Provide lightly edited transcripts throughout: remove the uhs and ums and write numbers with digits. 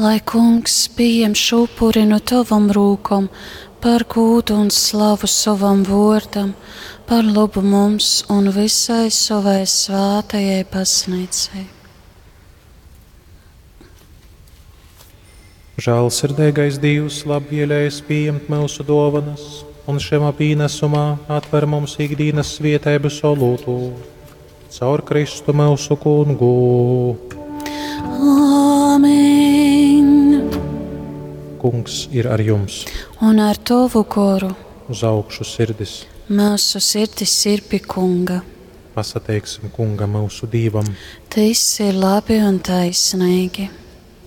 Lai Kungs pieņem šo upuri no tavam rūkom par gūdu un slavu sovam vōrdam, par labu mums un visai savai svātajai baznīcai. Žēlsirdīgais Dievs labvēlējies pieņemt mūsu dāvanas, un šajā pienesumā atver mums ikdienas svietības olūtu. Caur Kristu mūsu kungu. Āmen! Kungs ir ar jums, Un ar tavu goru uz augšu sirdis. mūsu sirdis ir pie Kunga. Pasateiksim kungam mūsu Dīvam. Tas ir labi un taisnīgi.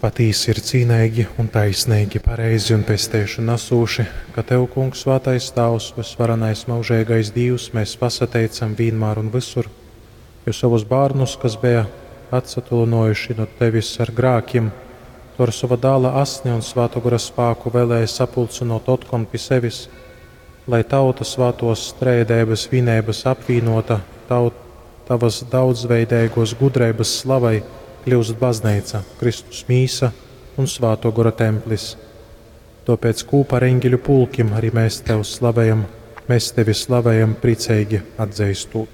Patīsi ir cīnīgi un taisnīgi, pareizi un pestēšana nesūši, ka Tev, Kungs, svētais Tēvs, visvarenais mūžīgais Dievs, mēs pasateicam vienmēr un visur, jo savus bērnus, kas bija atsatulinojuši no Tevis ar grākiem, tu ar sava dāla asni un svēto gara spāku vēlēji sapulcinot otkon pie sevis, lai tauta svētos strēdēbas vienības apvienota, taut, tavas daudzveidīgos gudrības slavai kļūst baznīca, Kristus mīsa un svēto gora templis. Tāpēc kopā ar eņģeļu pulkim arī mēs tev slavējam, mēs tevi slavējam priecīgi atzīstot.